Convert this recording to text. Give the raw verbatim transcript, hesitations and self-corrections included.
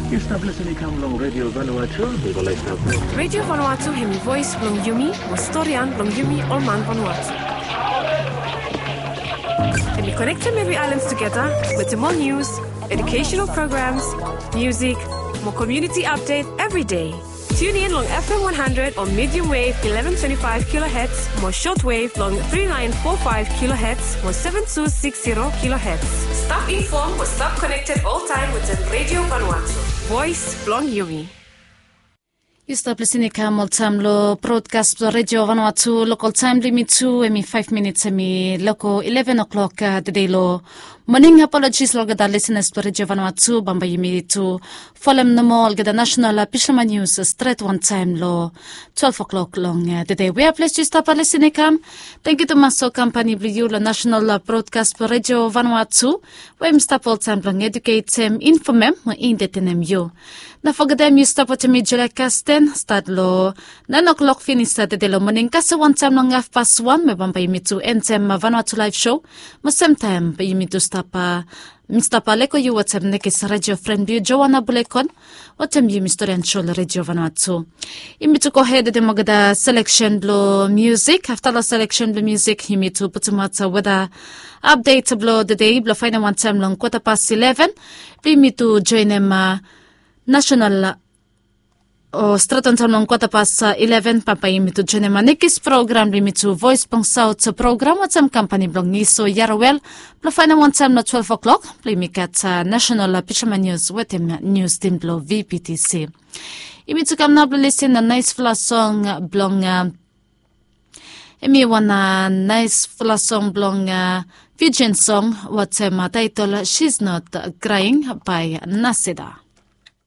Yu stap lisin i kam long Radio Vanuatu, mi go laik stap. Radio Vanuatu hemi voes blong yumi, mo storian blong yumi ol man Vanuatu. Hemi konektem evri aelan tugeta wetem ol nius, educational programs, music, mo community update every day. Tune in long F M one hundred o medium wave eleven twenty-five kilohertz mo short wave long three nine four five kilohertz mo seven two six zero kilohertz. Stap inform mo stap connected all time wetem Radio Vanuatu. Voes blong yumi. Yu stap lisin i kam oltaem long brodkas blong Radio Vanuatu. Lokol taem blong yumi tu hemi faef minits hemi loko eleven o'clock tede long moning. Apologis long olgeta lisenas blong Radio Vanuatu. Bambae yumi tu folem nomo olgeta nasenal pisama nius stret wantaem long twelve o'clock long tede. Wea ples yu stap lisin i kam, tangkiu tumas long kampani blong yu long nasenal brodkas blong Radio Vanuatu, we yumi stap oltaem blong eduketem, infomem mo entetenem yu. No fogetem yu stap wetem mi Julia Kasten, stat long naen o'clock finis tede long moning, kasem wantaem long hafpas wan, mo bambae yumi tu entem Vanuatu Laef Sho. Mo semtaem bae yumi tu stap, mi stap leko yu wetem nekis radio fren blong yu Joana Bulekon, wetem yumi storian sho long Radio Vanuatu. Yumi tu gohed wetem olgeta seleksen blong musik. Afta long seleksen blong musik yumi tu putumaot weta apdet blong tede blong faenem wantaem long kwota pas eleven, blong yumi tu joenem nasenal o stret wantaem long kwota pas eleven, bambae yumi tu joenem nekis program blong yumi tu Voes blong Saot program wetem kampani blong Iso Yarawel, blong faenem wantaem long twelve o'clock blong yumi gat nasenal pisama nius wetem nius tim blong V P T C. Yumi tu kam nao blong lisin long naesfala song blong, hemi wan naesfala song blong Fijian song wetem taetol She's Not Crying by Nasida.